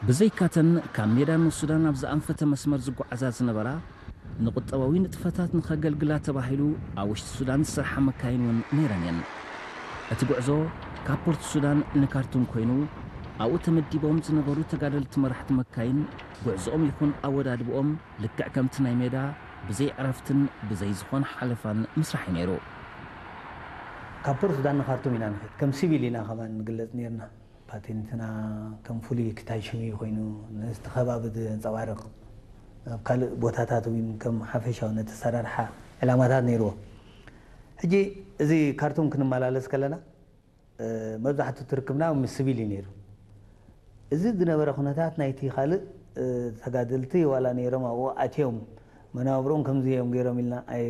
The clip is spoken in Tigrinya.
ብዘይካተን ካብ ሜዳ ንሱዳን ኣብ ዝኣንፈተ መስመር ዝጓዓዛ ዝነበራ ንቁጠባዊ ንጥፈታት ንኸገልግላ ተባሂሉ ኣብ ውሽጢ ሱዳን ዝሰርሓ መካይን እውን ነይረን እየን። እቲ ጉዕዞ ካብ ፖርት ሱዳን ንካርቱም ኮይኑ ኣብኡ ተመዲቦም ዝነበሩ ተጋደልቲ መራሕቲ መካይን ጉዕዞኦም ይኹን ኣወዳድብኦም ልክዕ ከምቲ ናይ ሜዳ ብዘይ ዕረፍትን ብዘይ ዝኾነ ሓለፋን ምስራሕ እዩ ነይሩ። ካብ ፖርት ሱዳን ንካርቱም ኢና ንኸይድ፣ ከም ሲቪል ኢና ከማን ንግለጽ ነይርና። ፓቴንትና ከም ፍሉይ ክታይ ሽሙ ኮይኑ ነቲ ከባቢ ዘንጸባርቕ፣ ኣብ ካልእ ቦታታት እውን ከም ሓፈሻዊ ነቲ ኣሰራርሓ ዕላማታት ነይርዎ። ሕጂ እዚ ካርቱም ክንመላለስ ከለና መብዛሕትኡ ትርክብና ምስ ስቪል እዩ ነይሩ። እዚ ዝነበረ ኩነታት ናይቲ ካልእ ተጋደልቲ ዋላ ነይሮም ኣብኡ ኣትዮም መናብሮም ከምዚ እዮም ገይሮም ኢልና ኣይ